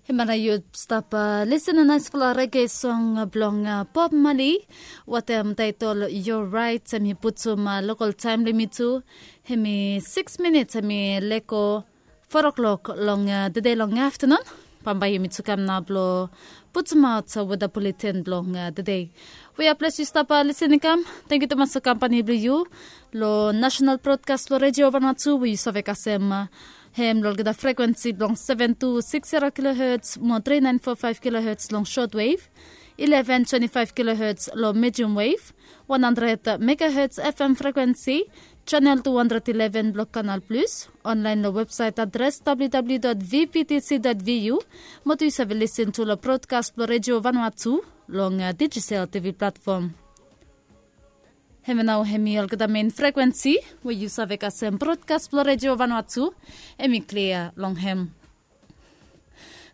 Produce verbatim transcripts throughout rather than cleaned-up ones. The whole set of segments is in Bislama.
Hemia nao yu stap lisin long naispela rege song blong Bob Marley, watem taitol Your Right. Em i putum lokal taem blong yumi tu, em i sikis minits, em i lego fo klok long tede long aftanun. Bambae yumi tu kam nao blong putumaot weda buletin blong tede. We a ples yu stap lisin i kam. Tangkiu tumas long kampani blong yu long National Broadcast blong Redio Vanuatu, we yu save kasem hem long olgeta frekuensi blong seven two six zero kilohertz mo three nine four five kilohertz long shortwave, eleven twenty-five kilohertz long medium wave, one hundred megahertz F M frekuensi, channel two hundred eleven blong Canal Plus, online long website adres W W W dot V B T C dot V U, mo tu yu save lisin tu long broadcast blong Redio Vanuatu long digital T V platform. Hemia nao hem i olgeta mein frekuensi we yu save kasem broadcast blong Redio Vanuatu, em i klia long hem.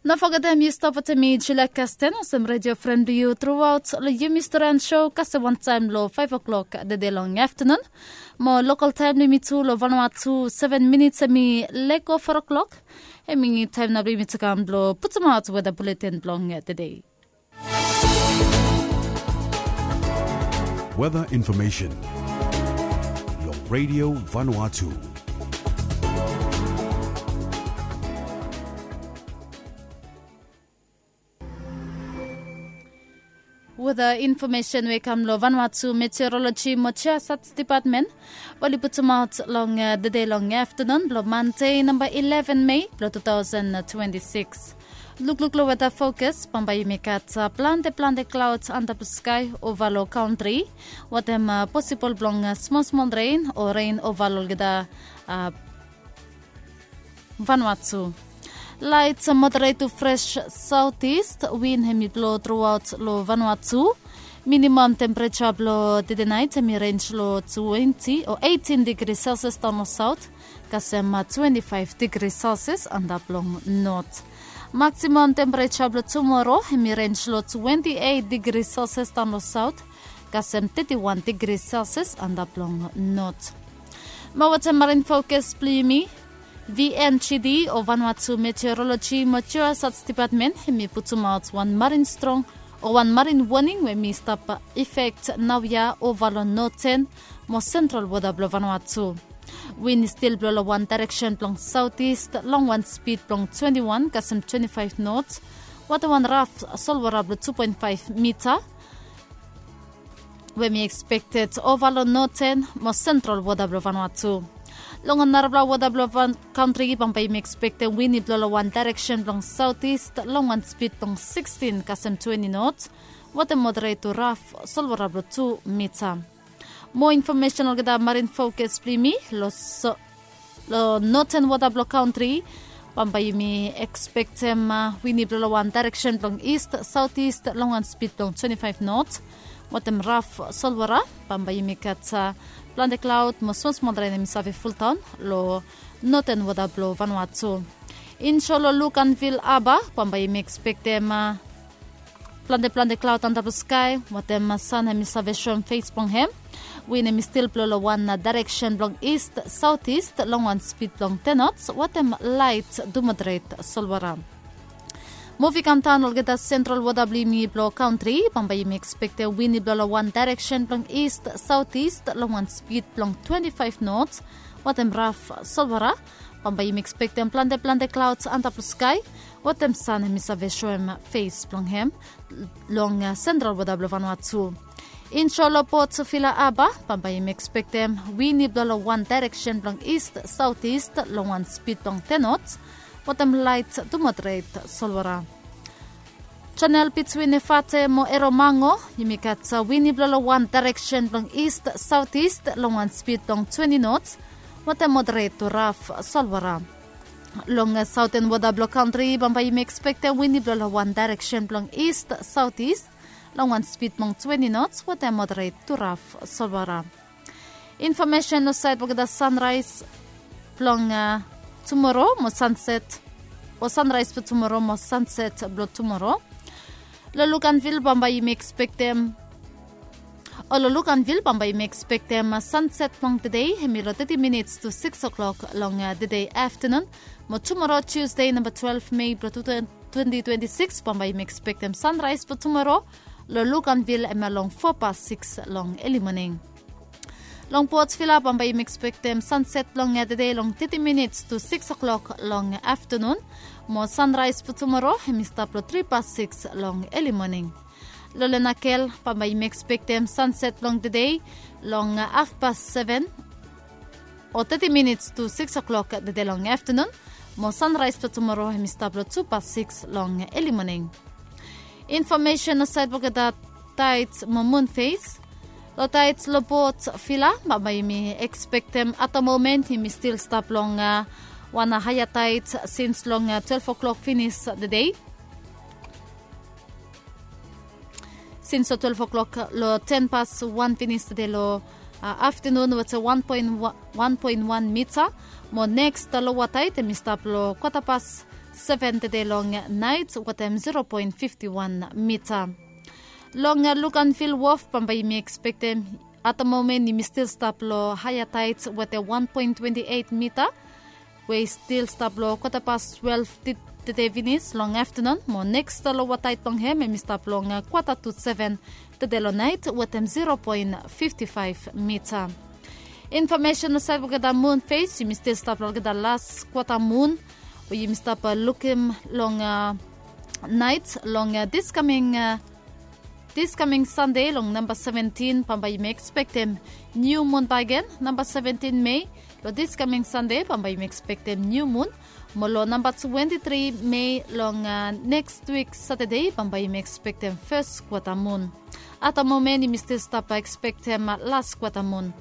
No fogetem yu stap wetem mi Julia Kasten olsem redio fren blong yu truaot long yumi storian show kasem wantaem long five o'clock tede long aftanun. Mo lokal taem blong yumi tu long Vanuatu, seven minits, em i lego fo klok. Em i taem nao blong yumi tu kam blong putumaot weda buletin blong tede. Weather information long Radio Vanuatu. Weather information we i kam long Vanuatu Meteorology mo Geosat Department, we oli putumaot long tede long aftanun blong Mande, namba eleven Mei blong two thousand twenty-six. Lukluk long weather forecast, bambae yumi gat plante plante clouds antap long sky ova long kantri, watem posibol blong smol smol ren o ren ova long olgeta Vanuatu. Light moderate to fresh southeast wind hem i blo truaot long Vanuatu. Minimum temperature blong tede naet hem i range long twenty o eighteen degree Celsius daon long south, kasem twenty-five degree Celsius antap long north. Maximum temperature blong tumora hem i range long twenty-eight degree Celsius daon long south, kasem thirty-one degree Celsius antap long north. Mo wetem marine forecast blong yumi, V N G D o Vanuatu Meteorology mo Geosat Department hem i putumaot wan marine strong o wan marine warning we hem i stap effect naoia ova long northern mo central wota blong Vanuatu. Wind i stil blo long wan direction blong southeast long wan speed blong twenty-one kasem twenty-five knots, watem wan raf solwota blong two point five mita we hem i expected ova long northern mo central wota blong Vanuatu. Long narafala wota blong kantri bambae yumi expectem wind i blo long wan direction blong southeast long wan speed blong sixteen kasem twenty knots, watem moderate to raf solwota blong two mita. Mo information olgeta marine forecast blong yumi long so long northern wota blong kantri, bambae yumi expectem wind i blo long wan direction blong east southeast long wan speed blong twenty-five knots, watem raf solwota. Bambae yumi gat plante cloud mo smol smol ren hem i save fuldaon long northern wota blong Vanuatu. Inshore long Luganville Harbour bambae yumi expectem plante plante cloud antap long sky, watem san hem i save soem fes blong hem. Wind hem i stil blo long wan direction blong east southeast long wan speed blong ten knots, watem light to moderate solwota. Muvi kam daon olgeta central wota blong yumi blong kantri, bambae yumi expectem wind i blo long wan direction blong east southeast long wan speed blong twenty-five knots, watem raf solwota. Bambae yumi expectem plante plante clouds antap long sky, watem san hem i save soem fes blong hem long central wota blong Vanuatu. Inshore long Port Vila Harbour bambae yumi expectem wind i blo long wan direction blong east southeast long wan speed blong ten knots, watem light to moderate solwota. Channel between Efate mo Erromango, yumi gat wind i blo long wan direction blong east southeast long wan speed blong twenty knots, watem moderate to raf solwota. Long southern wota blong kantri bambae yumi expectem wind i blo long wan direction blong east southeast long wan speed blong twenty knots, watem moderate to raf solwota. Information long saed blong olgeta sunrise blong tumora mo sunset, o sunrise blong tumora mo sunset blong tumora. Long Luganville bambae yumi expectem, o long Luganville bambae yumi expectem sunset blong tede hem i long thirty minutes to six o'clock long tede aftanun. Mo tumora Tuesday namba twelve Mei blong two thousand twenty twenty-six bambae yumi ekspektem sanraes blong tumoro. Long Luganville hemia long foa past six long eli moning. Long Port Vila bambae yumi ekspektem sanset blong tede long thirty minits to six o'clock long aftenun. Mo sanraes blong tumoro hem i stap long three past six long eli moning. Long Lenakel bambae yumi ekspektem sanset blong tede long half past seven o thirty minits to six o'clock tede long aftenun. Mo sanraes blong tumoro hem i stap long two past six long eli moning. Infomesen long saed blong olgeta taets mo mun fes. Long taets long Port Vila bambae yumi ekspektem at the moment yumi stil stap long wan haea taets sins long twelve o'clock finis tede. Sins long twelve o'clock long ten past wan finis tede long aftenun wetem wan poen wan mita. Mo neks loa taet hem i stap long kwata past seven tede long naet wetem zero poen fifti wan mita. Long Luganville wof bambae yumi ekspektem at the moment yumi stil stap long haea taets wetem wan poen twenti eit mita, we i stil stap long kwata past twelve tede finis long aftenun. Mo neks loa taet blong hem hem i stap long kwata tu seven tede long naet wetem zero poen fifti faef mita. Infomesen long saed blong olgeta mun fes yumi stil stap long olgeta las kwata mun we yumi stap lukim long naet long dis kaming dis kaming sande long namba seventin bambae yumi ekspektem niu mun baegen. Namba seventin mei long dis kaming sande bambae yumi ekspektem niu mun. Mo long namba twenti tri mei long neks wik satade bambae yumi ekspektem fes kwata mun. At the moment yumi stil stap ekspektem las kwata mun.